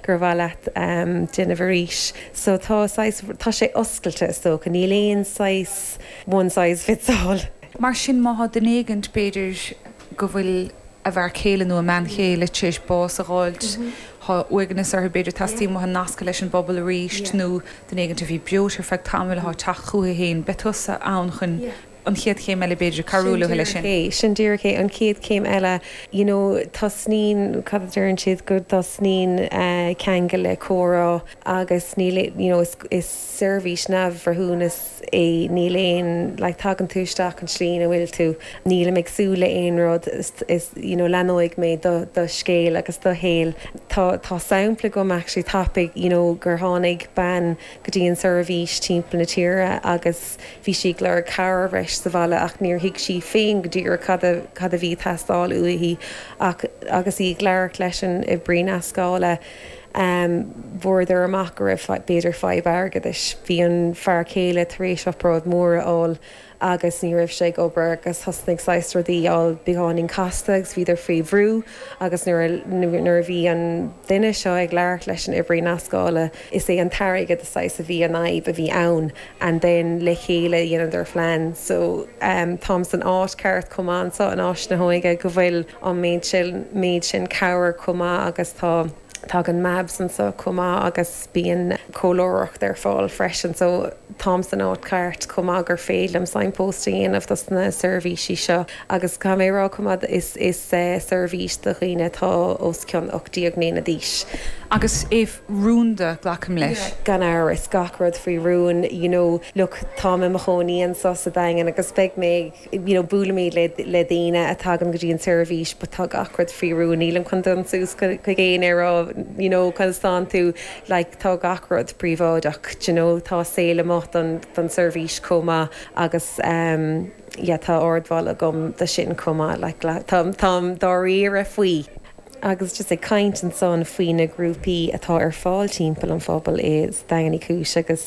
gur mhaith leat déanamh arís. So tá saghas, tá sé oscailte is dócha, níl aon saghas one size fits all. Mar sin má thá duine éigint, b'fhéidir go bhfuil a bhfear céile nó a mbean chéile tar éis bás a dh'fháilt, thá uaigneas orthu, b'fhéidir teastaíonn uathu nascadh leis an bpobal arís nó duine éigint a bhí breoite ar feadh tamaill athá ag teacht chúthu fhéin, beidh tusa ann chun an chéad chéim eile b'fhéidir, cabhrú leo leis sin. Sin díreach é, an chéad chéim eile, you know, tosnaíonn, cad a deireann siad, go dtosnaíonn ceangal le comhrá agus níl, you know, is seirbhís neamhbhreithiúnas é, níl aon, like, tagann tú isteach an tslí ina bhfuil tú, nílim ag súil le aon rud, is, you know, leathnóidh mé do, do scéal agus do shaol. Tá, tá sampla agam actually tapaidh, you know, gur tháinig bean go dtí an seirbhís timpeall na tíre agus bhí sí ag lorg cabhair bhreis sa bhaile ach níor thuig sí féin go díreach cad a cad a bhí ag teastáil uaithi ach agus í ag labhairt leis an oibrí nascála fuaireadar amach go raibh b'fhéidir fadhb airgeadais. Bhí an fear céile tar éis obráid mhór a fháil agus ní raibh sé ag obair agus thosnaigh saghas rudaí a fháil beagáinín casta agus bhíodar faoi bhrú agus nuair a nuair a bhí an duine seo ag labhairt leis an oibrí nascála is é an t-airgead saghas a bhí an fhadhb a bhí ann and then le chéile dheineadar phlean so táim san áit ceart chomh maith anseo in Áis na hÓige go bhfuil an méid sin méid sin cabhair chomh maith agus tá tagann MABS anseo chomh maith agus bíonn comhairleoireacht ar fáil freisin so táim san áit cheart chomh maith gur féidir liom signpost a dhéanamh dos na seirbhísí seo agus caithfidh mé a rá chomh maith is is seirbhís do dhaoine atá os cionn 18 mbliana d'aois. Agus é rúnda, glacaim leis. Yeah, gan amhras, gach rud faoi rún, you know, look, táim i mo chónaí anseo sa Daingean agus beidh mé ag, you know, buailimid le le daoine a tagann go dtí an tseirbhís but tá gach rud faoi rún, nílim chun dul suas chuig éinne a rá, you know, conas tánn tú, like tá gach rud príobháideach, do you know, tá saol amuigh don don seirbhís chomh maith agus ehm yeah tá ardmholadh agam do sin chomh maith, like táim táim dáiríre faoi. Agus just ag caint ansan faoi na grúpaí atá ar fáil timpeall an phobail i Daingean Uí Chúis agus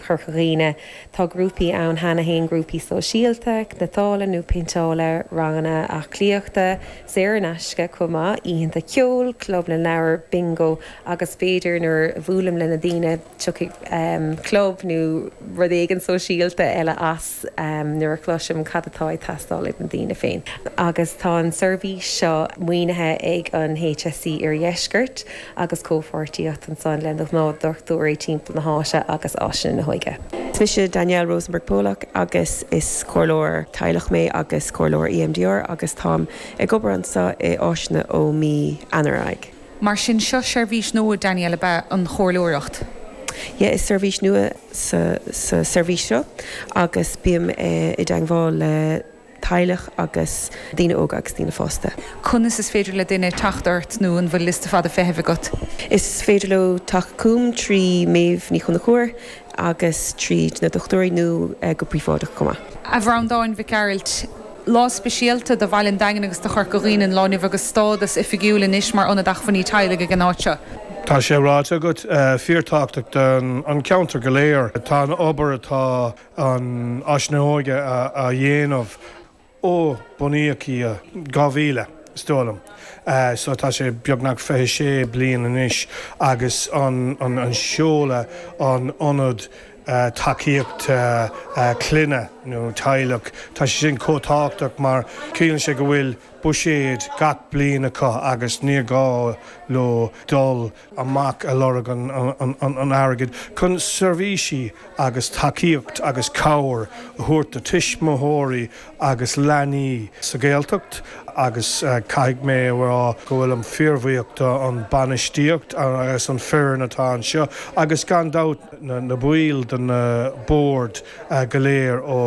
Chorca Dhuibhne, tá grúpaí ann cheana féin, grúpaí sóisialta, cniotála nó péinteála, ranganna aclaíochta, saor in aisce chomh maith, oícheanta ceoil, club na leabhar, bingo agus b'fhéidir nuair a bhuailim le na daoine, tiocfaidh club nó rud éigin sóisialta eile as nuair a chloisim cad atá ag teastáil ag na daoine féin. Agus tá an seirbhís seo maoinithe ag an HSE Iardheiscirt agus comhpháirtíocht ansan le na gnáthdochtúirí timpeall na háite agus Áiseanna na hÓige. Is mise Danielle Rosenberg Polak agus is comhairleoir teaghlach mé agus comhairleoir EMDR agus táim ag obair anseo i Áiseanna ó mí Eanáir ar aghaidh. Mar sin, seo seirbhís nua, Danielle, ab ea an chomhairleoireacht? Yeah, is seirbhís nua sa sa seirbhís seo agus bím i dteangmháil le teaghlach agus daoine óga agus daoine fásta. Conas is féidir le duine teacht ort nó an bhfuil liosta fada feithimh agat? Is féidir leo teacht chugam trí Méabh Ní Chonchúir agus tríd na dochtúirí nó go príobháideach chomh maith. A Bhreandáin Mhic Gearailt, Lá speisialta do bhaile an Daingin agus do Chorca Dhuibhne an lá inniu agus stádas oifigiúil anois mar Ionad Acmhainní Teaghlaigh ag an áit seo. Tá sé ráite agat, fíorthábhachtach don cheantar go léir. Tá an obair atá an Áis na hÓige a dhéanamh ó bunaíodh í i 2000, is dóigh liom, so tá sé beagnach 26 bliain anois agus an seoladh an ionad tacaíocht clainne nó teaghlach. Tá sé sin chomh tábhachtach mar ciallaíonn sé go bhfuil buiséad gach bliain acu agus ní gá leo dul amach a lorg an airgid chun seirbhísí agus tacaíocht agus cabhair a thabhairt do tuismitheoirí agus leanaí sa Ghaeltacht agus caithfidh mé a rá go bhfuilim fíorbhuíoch don bainistíocht agus an foireann atá anseo agus gan dabht na baill den bord go léir ó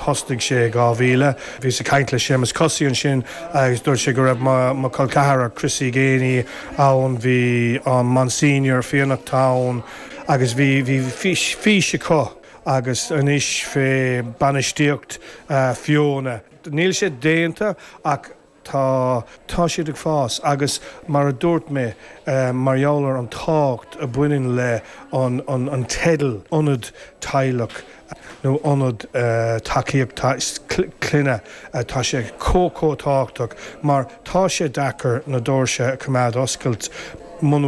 thosnaigh sé i 2000. Bhíos ag caint le Séamus Cosaí ansin agus dúirt sé go raibh mo chol ceathrar Chrissy Geaney ann, bhí an Monsignor Fiannachta ann agus bhí bhí fís acu agus anois fé bainistíocht Fiona. Níl sé déanta ach tá, tá siad ag fás agus mar a dúirt mé mar gheall ar an tábhacht a bhaineann le an, an, an teideal ionad teaghlach nó ionad tacaíocht clainne, tá sé chomh, chomh tábhachtach mar tá sé deacair na doirse a choimeád oscailte muna.